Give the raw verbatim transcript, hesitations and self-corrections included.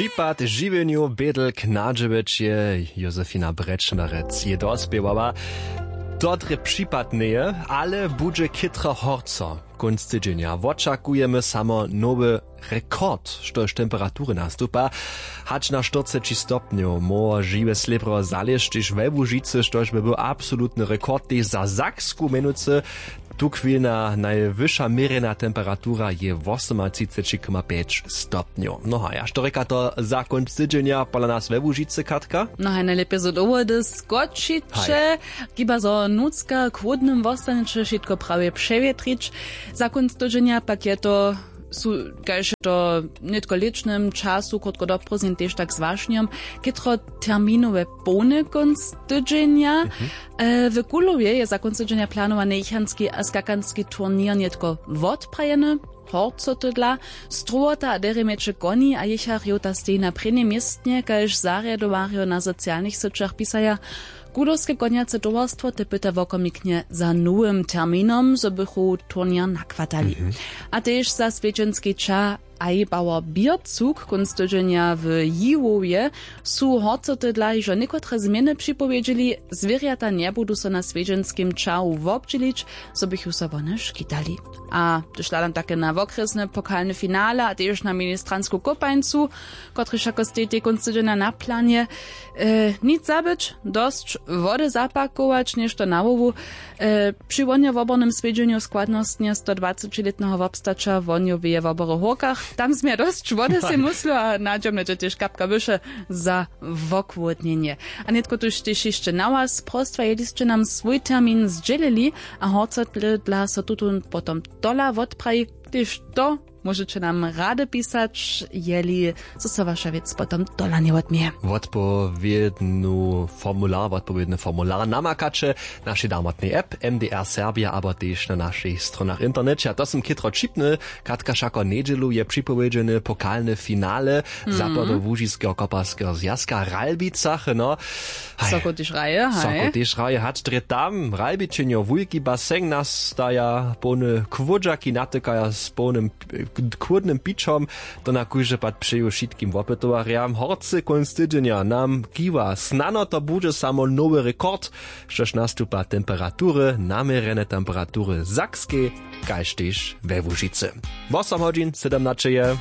Připad žiwjenju bědl k nadźewjeće. Josefina Brečmerec je dospěwała. To drje připad njeje, ale budźe chytro horco. Kónc tydźenja wočakujemy samo nowy rekord, štož temperatury nastupa. Hač na štyrceći stopnjow móhło žiwe slěbro zalěžć tež we łužicy, štož by był absolutny rekord tež za saksku měnujcy. Tuchwilna najwyša měrjena temperatura je wosomatřiceći koma pjeć stopnjow. No a ja što rěka to za kónc tydźenja pola nas we łužicy, Katka? No haj, najlěpje zo dowody skočiće. Hiba zo nutřka k chłódnym wostaneće wšitko prawje přewjetrić. Za kónc tydźenja pak je to su kaž to nětko w lětšnym času krótko do prózdnin tež tak z wašnjom, chětro terminowe połny kónc tydźenja. E, w kulowje je za kónc tydźenja planowany jěchanski a skakanski turněr nětko wotprajeny. Horcotydla, strowota a derje mjeće koni a jěcharjow ta steji na prěnim městnje, kaž zarjadowarjo na socialnych syćach pisaja. Kulowske konjace towarstwo te pyta wokomiknje za nowym terminom, zo bychu turněr nakwatali. A tež za swjedźenski ča a jebałer běrcuk kónc tydźenja w jiwowje su horcoty dla hižo někotre změny připowědźeli. Zwěrjata njebudu so na swjedźenskim čahu wobdźělić, zo bychu so wone škitali. A hdyž hladam take na wokrjesne pokalne finale a tež na ministransku kopańcu, kotryž jako stejtej kónc tydźenja na planje, e, nic zabyć, dosć wody zapakować něšto na hłowu. E, při wonjo wobornym swjedźenju składnostnje stodwacećilětneho wobstaća wonjoweje wobory w hórkach, tam změja dosć wody sej myslu a nadźomne dźe tež kapka wyše za wokłódnjenje. A nětko tuž tež hišće na was prostwa jeli sće nam swój termin zdźělili a horcotle dla so tutón potom tola wotpraji, tež to móžeće nam rady pisać, jeli zo so waša wěc potom tola njewotměje. Wotpowědnu formular wotpowědny formular namakaće w našej damotnej app mdr serbia abo tež na našich stronach w interneće. A to sym chětro ćipny. Katka, wšako njedźelu je připowědźeny pokalne finale zapadołužiskeho koparskeho zwjazka w Ralbicach, no. Haj. Soko tež hraje, haj. Soko tež hraje, hač drje tam Ralbičenjo, wulki baseń nastaja, połne kłódźaki natykaja z połnym k-, kłódnym pićom. To na kóždy pad přeju wšitkim wopytowarjam. Horcy kónc tydźenja nam kiwa, snano to budźe samo nowy rekord, štož nastupa temperatury, naměrjene temperatury w Sakskej kaž tež we Łužicy. Wosom hodźin sydomnaće je.